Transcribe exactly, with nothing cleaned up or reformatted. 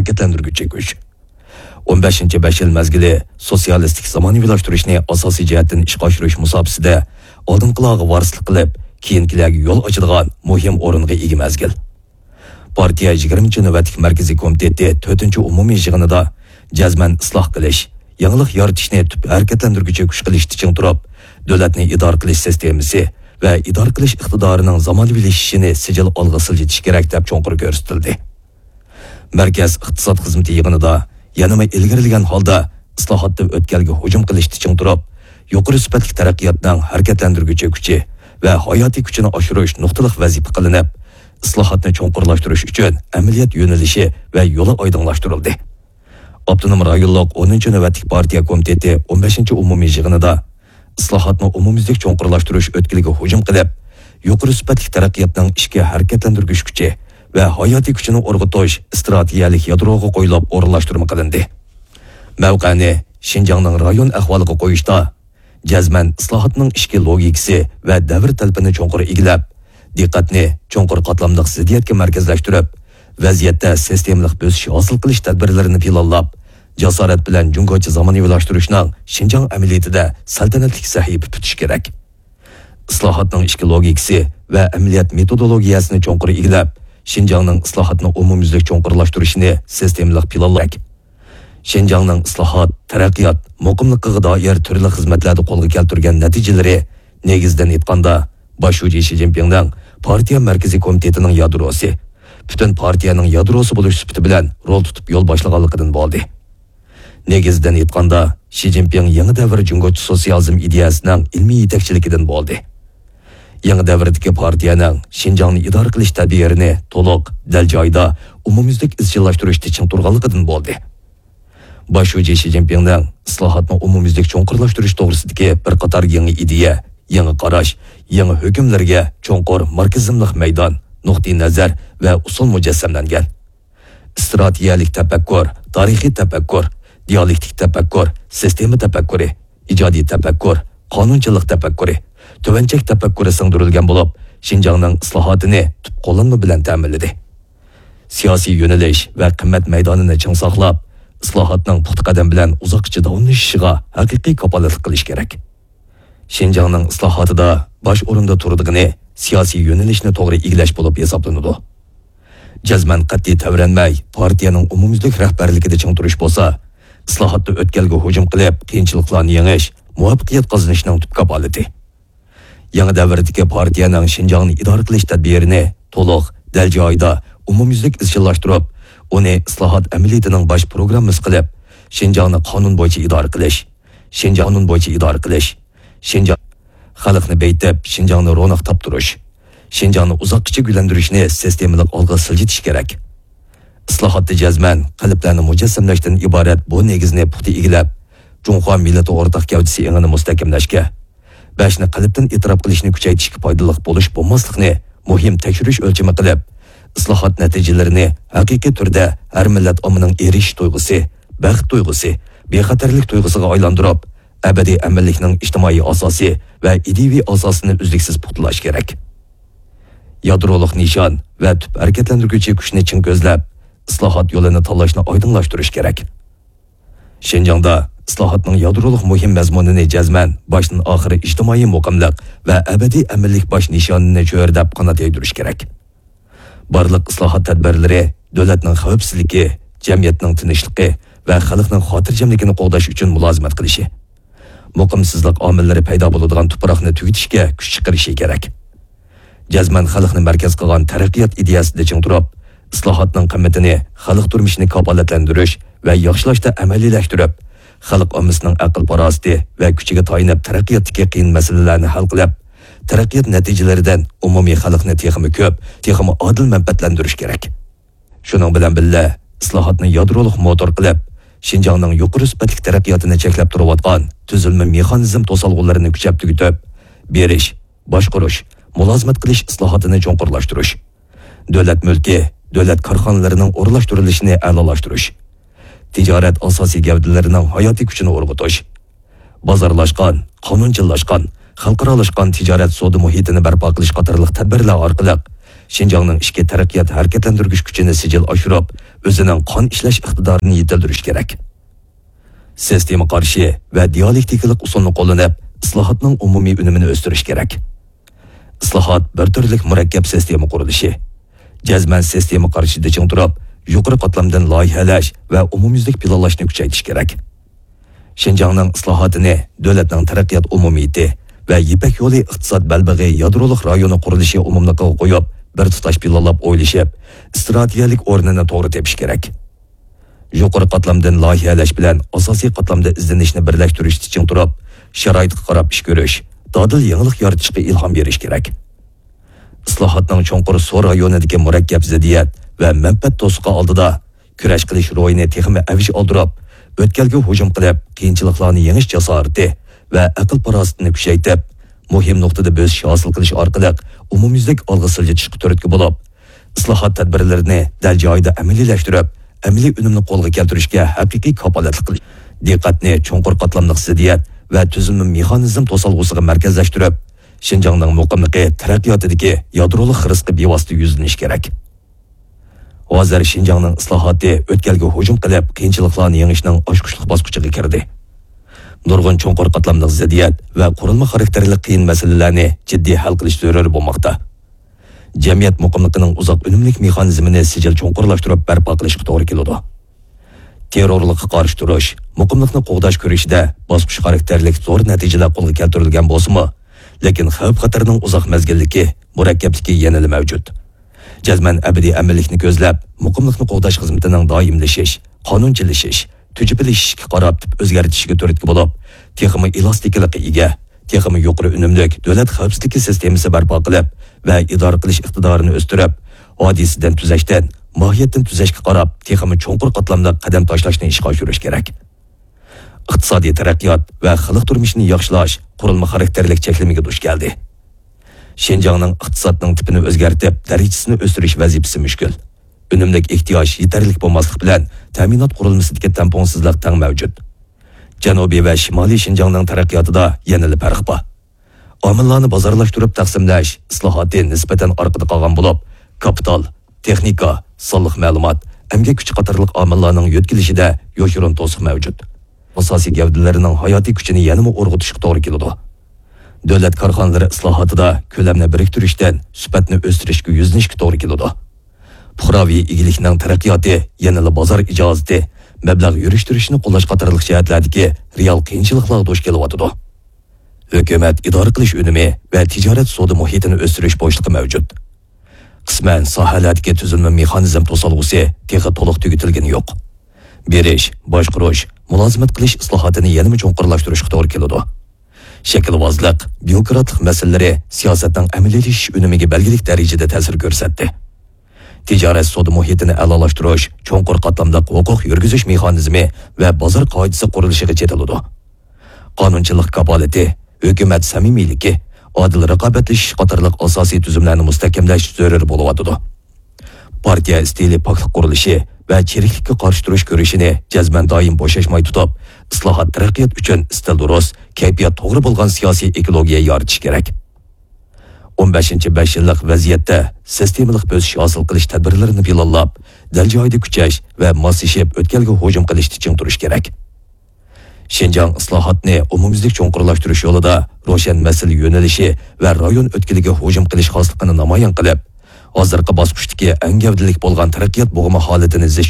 ھەرىكەتلەندۈرگۈچى كۈچ. ئون بەشىنچى بەش يىل مەزگىلى سوتسىيالىستىك زامانىۋىلاشتۇرۇشنى ئاساسىي جەھەتتىن ئىشقا ئاشۇرۇش مۇساپىسىدە ئالدىنقىلارغا ۋارىسلىق قىلىپ، كېيىنكىلەرگە يول ئاچىدىغان مۇھىم ئورۇنغا ئىگە مەزگىل. پارتىيە يىگىرمىنچى نۆۋەتلىك مەركىزىي كومىتېتى تۆتىنچى ئومۇمىي يىغىنىدا جەزمەن ئىسلاھ قىلىش، يېڭىلىق يارىتىشنى تۈپ ھەرىكەتلەندۈرگۈچى كۈچ قىلىشتا چىڭ تۇرۇپ، دۆلەتنى ئىدارە قىلىش سىستېمىسى ۋە ئىدارە قىلىش ئىقتىدارىنىڭ زامانىۋىلىشىشىنى سىجىل ئالغا سىلجىتىش كېرەك، دەپ چوڭقۇر كۆرسىتىلدى. مەركەز ئىقتىساد خىزمىتى يىغىنىدا يەنىمۇ ئىلگىرىلىگەن ھالدا ئىسلاھاتتا ئۆتكەلگە ھۇجۇم قىلىشتا چىڭ تۇرۇپ، يۇقىرى سۈپەتلىك تەرەققىياتنىڭ ھەرىكەتلەندۈرگۈچى كۈچى ۋە ھاياتىي كۈچىنى ئاشۇرۇش نۇقتىلىق ۋەزىپە قىلىنىپ، ئىسلاھاتنى چوڭقۇرلاشتۇرۇش ئۈچۈن ئەمەلىيەت يۆنىلىشى ۋە يولى ئايدىڭلاشتۇرۇلدى. ئاپتونوم رايونلۇق ئونىنچى نۆۋەتلىك پارتىيە كومىتېتى ئون بەشىنچى ئومۇمىي يىغىنىدا ئىسلاھاتنى ئومۇميۈزلۈك چوڭقۇرلاشتۇرۇش ئۆتكىلىگە ھۇجۇم قىلىپ، يۇقىرى سۈپەتلىك تەرەققىياتنىڭ ئىچكى ھەرىكەتلەندۈرگۈچ كۈچى ۋە ھاياتىي كۈچىنى ئۇرغۇتۇش ئىستراتېگىيەلىك يادروغا قويۇلۇپ ئورۇنلاشتۇرما قىلىندى. مەۋقەنى شىنجاڭنىڭ رايون ئەھۋالىغا قويۇشتا، جەزمەن ئىسلاھاتنىڭ ئىچكى لوگىكىسى ۋە دەۋر تەلىپىنى چوڭقۇر ئىگىلەپ، دىققەتنى چوڭقۇر قاتلاملىق زىددىيەتكە مەركەزلەشتۈرۈپ، ۋەزىيەتتە سىستېمىلىق بۆسۈش ھاسىل قىلىش تەدبىرلىرىنى پىلانلاپ، جاسارەت بىلەن جۇڭگوچە زامانىۋىلاشتۇرۇشنىڭ شىنجاڭ ئەمەلىيىتىدە سەلتەنەتلىك سەھىپە پۈتۈش كېرەك. ئىسلاھاتنىڭ ئىچكى لوگىكىسى ۋە ئەمەلىيەت مېتودولوگىيەسىنى چوڭقۇر ئىگىلەپ، شىنجاڭنىڭ ئىسلاھاتنى ئومۇميۈزلۈك چوڭقۇرلاشتۇرۇشىنى سىستېمىلىق پىلانلاش كېرەك. شىنجاڭنىڭ ئىسلاھات، تەرەققىيات، مۇقىملىقىغا دائىر تۈرلۈك خىزمەتلەردە قولغا كەلتۈرگەن نەتىجىلىرى، نېگىزىدىن ئېيتقاندا، باش شۇجى شى جىنپىڭنىڭ پارتىيە مەركىزىي كومىتېتىنىڭ يادروسى، پۈتۈن پارتىيەنىڭ يادروسى بولۇش سۈپىتى بىلەن رول تۇتۇپ يول باشلىغانلىقىدىن بولدى. نېگىزىدىن ئېيتقاندا، شى جىنپىڭ يېڭى دەۋر جۇڭگوچە سوتسىيالىزم ئىدىيەسىنىڭ ئىلمىي يېتەكچىلىكىدىن بولدى. يېڭى دەۋردىكى پارتىيەنىڭ شىنجاڭنى ئىدارە قىلىش تەدبىرىنى تولۇق، دەل جايىدا، ئومۇميۈزلۈك ئىزچىللاشتۇرۇشتا چىڭ تۇرغانلىقىدىن بولدى. باش شۇجى شى جىنپىڭنىڭ ئىسلاھاتنى ئومۇميۈزلۈك چوڭقۇرلاشتۇرۇش توغرىسىدىكى بىر قاتار يېڭى ئىدىيە، يېڭى قاراش، يېڭى ھۆكۈملەرگە چوڭقۇر ماركسىزملىق مەيدان، نۇقتىئىنەزەر ۋە ئۇسۇل مۇجەسسەملەنگەن. ئىستراتېگىيەلىك تەپەككۇر، تارىخىي تەپەككۇر، دىئالېكتىك تەپەككۇر، سىستېما تەپەككۇرى، ئىجادىي تەپەككۇر، قانۇنچىلىق تەپەككۇرى، تۆۋەن چەك تەپەككۇرى سىڭدۈرۈلگەن بولۇپ، شىنجاڭنىڭ ئىسلاھاتىنى تۈپ قوللانما بىلەن تەمىنلىدى. سىياسىي يۆنىلىش ۋە قىممەت مەيدانىنى چىڭ ساقلاپ، ئىسلاھاتنىڭ پۇختا قەدەم بىلەن ئۇزاققىچە داۋاملىشىشىغا ھەقىقىي كاپالەتلىك قىلىش كېرەك. شىنجاڭنىڭ ئىسلاھاتىدا باش ئورۇندا تۇرىدىغىنى سىياسىي يۆنىلىشنى توغرا ئىگىلەش بولۇپ ھېسابلىنىدۇ. جەزمەن قەتئىي تەۋرەنمەي، پارتىيەنىڭ ئومۇميۈزلۈك رەھبەرلىكىدە چىڭ تۇرۇش بولسا، ئىسلاھاتتا ئۆتكەلگە ھۇجۇم قىلىپ، قىيىنچىلىقلارنى يېڭىش، مۇۋەپپەقىيەت قازىنىشنىڭ تۈپ كاپالىتى. يېڭى دەۋردىكى پارتىيەنىڭ شىنجاڭنى ئىدارە قىلىش تەدبىرىنى تولۇق، دەل جايىدا، ئومۇميۈزلۈك ئىزچىللاشتۇرۇپ، ئۇنى ئىسلاھات ئەمەلىيىتىنىڭ باش پروگراممىسى قىلىپ، شىنجاڭنى قانۇن بويىچە ئىدارە قىلىش، شىنجاڭ قانۇن بويىچە ئىدارە قىلىش، شىنجاڭ خەلقنى بېيىتىپ، شىنجاڭنى روناق تاپتۇرۇش، شىنجاڭنى ئۇزاققىچە گۈللەندۈرۈشنى سىستېمىلىق ئالغا سىلجىتىش كېرەك. ئىسلاھاتتا جەزمەن قېلىپلارنى مۇجەسسەملەشتىن ئىبارەت بۇ نېگىزنى پۇختا ئىگىلەپ، جۇڭخۇا مىللىتى ئورتاق گەۋدىسى ئېڭىنى مۇستەھكەملەشكە، بەشنى قېلىپتىن ئېتىراپ قىلىشنى كۈچەيتىشكە پايدىلىق بولۇش بولماسلىقنى مۇھىم تەكشۈرۈش ئۆلچىمى قىلىپ، ئىسلاھات نەتىجىلىرىنى ھەقىقىي تۈردە ھەر مىللەت ئاممىنىڭ ئېرىشىش تۇيغۇسى، بەخت تۇيغۇسى، بىخەتەرلىك تۇيغۇسىغا ئايلاندۇرۇپ، ئەبەدىي ئەمىنلىكنىڭ ئىجتىمائىي ئاساسى ۋە ئىدىيىۋى ئاساسىنى ئۈزلۈكسىز پۇختىلاش كېرەك. يادرولۇق نىشان ۋە تۈپ ھەرىكەتلەندۈرگۈچى كۈچنى چىڭ كۆزلەپ، ئىسلاھات يولىنى تاللاشنى ئايدىڭلاشتۇرۇش كېرەك. شىنجاڭدا ئىسلاھاتنىڭ يادرولۇق مۇھىم مەزمۇنىنى جەزمەن باشتىن ئاخىر ئىجتىمائىي مۇقىملىق ۋە ئەبەدىي ئەمىنلىك باش نىشانىنى چۆرىدەپ قانات يايدۇرۇش كېرەك. بارلىق ئىسلاھات تەدبىرلىرى دۆلەتنىڭ خەۋپسىزلىكى، جەمئىيەتنىڭ تىنچلىقى ۋە خەلقنىڭ خاتىرجەملىكىنى قوغداش ئۈچۈن مۇلازىمەت قىلىشى، مۇقىمسىزلىق ئامىللىرى پەيدا بولىدىغان تۇپراقنى تۈگىتىشكە كۈچ چىقىرىشى كېرەك. جەزمەن خەلقنى مەركەز قىلغان تەرەققىيات ئىدىيەسىدە چىڭ تۇرۇپ، ئىسلاھاتنىڭ قىممىتىنى خەلق تۇرمۇشىنى كاپالەتلەندۈرۈش ۋە ياخشىلاشتا ئەمەلىيلەشتۈرۈپ، خەلق ئاممىسىنىڭ ئەقىل-پاراسىتى ۋە كۈچىگە تايىنىپ تەرەققىياتتىكى قىيىن مەسىلىلەرنى ھەل قىلىپ، تەرەققىيات نەتىجىلىرىدىن ئومۇمىي خەلقنى تېخىمۇ كۆپ، تېخىمۇ ئادىل مەنپەئەتلەندۈرۈش كېرەك. شۇنىڭ بىلەن بىللە، ئىسلاھاتنى يادرولۇق موتور قىلىپ، شىنجاڭنىڭ يۇقىرى سۈپەتلىك تەرەققىياتىنى چەكلەپ تۇرۇۋاتقان تۈزۈلمە مېخانىزم توسالغۇلىرىنى كۈچەپ تۈگىتىپ، بېرىش، باشقۇرۇش، مۇلازىمەت قىلىش ئىسلاھاتىنى چوڭقۇرلاشتۇرۇش، دۆلەت مۈلكى، دۆلەت كارخانىلىرىنىڭ ئورۇنلاشتۇرۇلۇشىنى ئەلالاشتۇرۇش، تىجارەت ئاساسىي گەۋدىلىرىنىڭ ھاياتىي كۈچىنى ئۇرغۇتۇش، بازارلاشقان، قانۇنچىللاشقان، خەلقئارالاشقان تىجارەت سودا مۇھىتىنى بەرپا قىلىش قاتارلىق تەدبىرلەر ئارقىلىق شىنجاڭنىڭ ئىچكى تەرەققىيات ھەرىكەتلەندۈرگۈچ كۈچىنى سىجىل ئاشۇرۇپ، ئۆزىنىڭ قان ئىشلەش ئىقتىدارىنى يېتىلدۈرۈش كېرەك. سىستېما قارىشى ۋە دىيالېكتىكىلىق ئۇسۇلنى قوللىنىپ، ئىسلاھاتنىڭ ئومۇمىي ئۈنۈمىنى ئۆستۈرۈش كېرەك. ئىسلاھات بىر تۈرلۈك مۇرەككەپ سىستېما قۇرۇلۇشى. جەزمەن سىستېما قارىشىدا چىڭ تۇرۇپ، يۇقىرى قاتلامدىن لايىھەلەش ۋە ئومۇميۈزلۈك پىلانلاشنى كۈچەيتىش كېرەك. شىنجاڭنىڭ ئىسلاھاتىنى دۆلەتنىڭ تەرەققىيات ئومۇمىيىتى ۋە يىپەك يولى ئىقتىساد بەلبېغى يادرولۇق رايونى قۇرۇلۇشى ئومۇملۇقىغا قويۇپ، بىر تۇتاش پىلانلاپ ئويلىشىپ، ئىستراتېگىيەلىك ئورنىنى توغرا تېپىش كېرەك. يۇقىرى قاتلامدىن لايىھەلەش بىلەن ئاساسىي قاتلامدا ئىزدىنىشنى بىرلەشتۈرۈشتە چىڭ تۇرۇپ، شارائىتقا قاراپ ئىش كۆرۈش، دادىل يېڭىلىق يارىتىشقا ئىلھام بېرىش كېرەك. ئىسلاھاتنىڭ چوڭقۇر سور رايونىدىكى مۇرەككەپ زىددىيەت ۋە مەنپەئەت توسۇقى ئالدىدا كۈرەش قىلىش روھىنى تېخىمۇ ئەۋج ئالدۇرۇپ، ئۆتكەلگە ھۇجۇم قىلىپ، قىيىنچىلىقلارنى يېڭىش جاسارىتى ۋە ئەقىل-پاراسىتىنى كۈچەيتىپ، مۇھىم نۇقتىدا بۆسۈش ھاسىل قىلىش ئارقىلىق ئومۇميۈزلۈك ئالغا سىلجىتىشقا تۈرتكە بولۇپ، ئىسلاھات تەدبىرلىرىنى دەل جايىدا ئەمەلىيلەشتۈرۈپ، ئەمەلىي ئۈنۈمنى قولغا كەلتۈرۈشكە ھەقىقىي كاپالەتلىك قىلىش، دىققەتنى چوڭقۇر قاتلاملىق زىددىيەت ۋە تۈزۈلمە مېخانىزم توسالغۇسىغا مەركەزلەشتۈرۈپ، شىنجاڭنىڭ مۇقىملىقى، تەرەققىياتىدىكى يادرولۇق خىرىسقا بىۋاسىتە يۈزلىنىش كېرەك. ھازىر شىنجاڭنىڭ ئىسلاھاتى ئۆتكەلگە ھۇجۇم قىلىپ، قىيىنچىلىقلارنى يېڭىشنىڭ ئاچقۇچلۇق باسقۇچىغا كىردى. نۇرغۇن چوڭقۇر قاتلاملىق زىددىيەت ۋە قۇرۇلما خاراكتېرلىك قىيىن مەسىلىلەرنى جىددىي ھەل قىلىش زۆرۈر بولماقتا. جەمئىيەت مۇقىملىقىنىڭ ئۇزاق ئۈنۈملۈك مېخانىزمىنى سىجىل چوڭقۇرلاشتۇرۇپ بەرپا قىلىشقا توغرا كېلىدۇ. تېررورلۇققا قارشى تۇرۇش، مۇقىملىقنى قوغداش كۈرىشىدە باسقۇچ خاراكتېرلىك زور نەتىجىلەر قولغا كەلتۈرۈلگەن بولسىمۇ، لېكىن خەۋپ-خەتەرنىڭ ئۇزاق مەزگىللىكى، مۇرەككەپلىكى يەنىلا مەۋجۇت. جەزمەن ئەبەدىي ئەمىنلىكنى كۆزلەپ، مۇقىملىقنى قوغداش خىزمىتىنىڭ دائىملىشىش، قانۇنچىلىشىش، تۈجۈپىلىشىشكە قاراپ تىپ ئۆزگەرتىشىگە تۈرتكە بولۇپ، تېخىمۇ ئېلاستىكىلىققا ئىگە، تېخىمۇ يۇقىرى ئۈنۈملۈك دۆلەت خەۋپسىزلىكى سىستېمىسى بەرپا قىلىپ ۋە ئىدارە قىلىش ئىقتىدارىنى ئۆستۈرۈپ، ھادىسىدىن تۈزەشتىن، ماھىيەتتىن تۈزەشكە قاراپ، تېخىمۇ چوڭقۇر قاتلاملىق قەدەم تاشلاشنى ئىشقا ئاشۇرۇش كېرەك. ئىقتىسادىي تەرەققىيات ۋە خەلق تۇرمۇشىنى ياخشىلاش قۇرۇلما خاراكتېرلىك چەكلىمىگە دۇچ كەلدى. شىنجاڭنىڭ ئىقتىسادنىڭ تىپىنى ئۆزگەرتىپ، دەرىجىسىنى ئۆستۈرۈش ۋەزىپىسى مۈشكۈل. ئۈنۈملىك ئېھتىياج يېتەرلىك بولماسلىق بىلەن، تەمىنات قۇرۇلمىسىدىكى تەڭپۇڭسىزلىق تەڭ مەۋجۇت. جەنۇبىي ۋە شىمالىي شىنجاڭنىڭ تەرەققىياتىدا يەنىلا پەرق بار. ئامىللارنى بازارلاشتۇرۇپ تەقسىملەش ئىسلاھاتى نىسبەتەن ئارقىدا قالغان بولۇپ، كاپىتال، تېخنىكا، سانلىق مەلۇمات، ئەمگەك كۈچى قاتارلىق ئامىللارنىڭ يۆتكىلىشىدە يوشۇرۇن توسۇق مەۋجۇت. ئاساسىي گەۋدىلىرىنىڭ ھاياتىي كۈچىنى يەنىمۇ ئۇرغۇتۇشقا توغرا كېلىدۇ. دۆلەت كارخانىلىرى ئىسلاھاتىدا كۆلەمنى بىرىكتۈرۈشتىن سۈپەتنى ئۆستۈرۈشكە يۈزلىنىشكە توغرا كېلىدۇ. پۇقراۋى ئىگىلىكنىڭ تەرەققىياتى يەنىلا بازار ئىجازىتى، مەبلەغ يۈرۈشتۈرۈشنى قوللاش قاتارلىق جەھەتلەردىكى رېئال قىيىنچىلىقلارغا دۇچ كېلىۋاتىدۇ. ھۆكۈمەت ئىدارە قىلىش ئۈنۈمى ۋە تىجارەت سودا مۇھىتىنى ئۆستۈرۈش بوشلۇقى مەۋجۇت. قىسمەن ساھەلەردىكى تۈزۈلمە مېخانىزم توسالغۇسى تېخى تولۇق تۈگىتىلگىنى يوق. بېرىش، باشقۇرۇش، مۇلازىمەت قىلىش ئىسلاھاتىنى يەنىمۇ چوڭقۇرلاشتۇرۇشقا توغرا كېلىدۇ. شەكىلۋازلىق، بيۇروكراتلىق مەسىلىلىرى سىياسەتنىڭ ئەمەلىيلىشىش ئۈنۈمىگە بەلگىلىك دەرىجىدە تەسىر كۆرسەتتى. تىجارەت سودا مۇھىتىنى ئەلالاشتۇرۇش چوڭقۇر قاتلاملىق ھوقۇق يۈرگۈزۈش مېخانىزمى ۋە بازار قائىدىسى قۇرۇلۇشىغا چېتىلىدۇ. قانۇنچىلىق كاپالىتى، ھۆكۈمەت سەمىمىيلىكى، ئادىل رىقابەتلىشىش قاتارلىق ئاساسىي تۈزۈملەرنى مۇستەھكەملەش زۆرۈر بولۇۋاتىدۇ. پارتىيە ئىستىلى پاكلىق قۇرۇلۇشى ۋە چىرىكلىككە قارشى تۇرۇش كۈرىشىنى جەزمەن دائىم بوشاشماي تۇتۇپ، ئىسلاھات تەرەققىيات ئۈچۈن ئىستىل دۇرۇس، كەيپىيات توغرا بولغان سىياسىي ئېكولوگىيە يارىتىش كېرەك. ئون بەشىنچى بەش يىللىق ۋەزىيەتتە سىستېمىلىق بۆسۈش ھاسىل قىلىش تەدبىرلىرىنى پىلانلاپ، دەل جايىدا كۈچەش ۋە ماسلىشىپ ئۆتكەلگە ھۇجۇم قىلىشتا چىڭ تۇرۇش كېرەك. شىنجاڭ ئىسلاھاتنى ئومۇميۈزلۈك چوڭقۇرلاشتۇرۇش يولىدا روشەن مەسىلە يۆنىلىشى ۋە رايون ئۆتكىلىگە ھۇجۇم قىلىش خاسلىقىنى نامايان قىلىپ، ھازىرقى باسقۇچتىكى ئەڭ گەۋدىلىك بولغان تەرەققىيات بۇغىما ھالىتىنى زىچ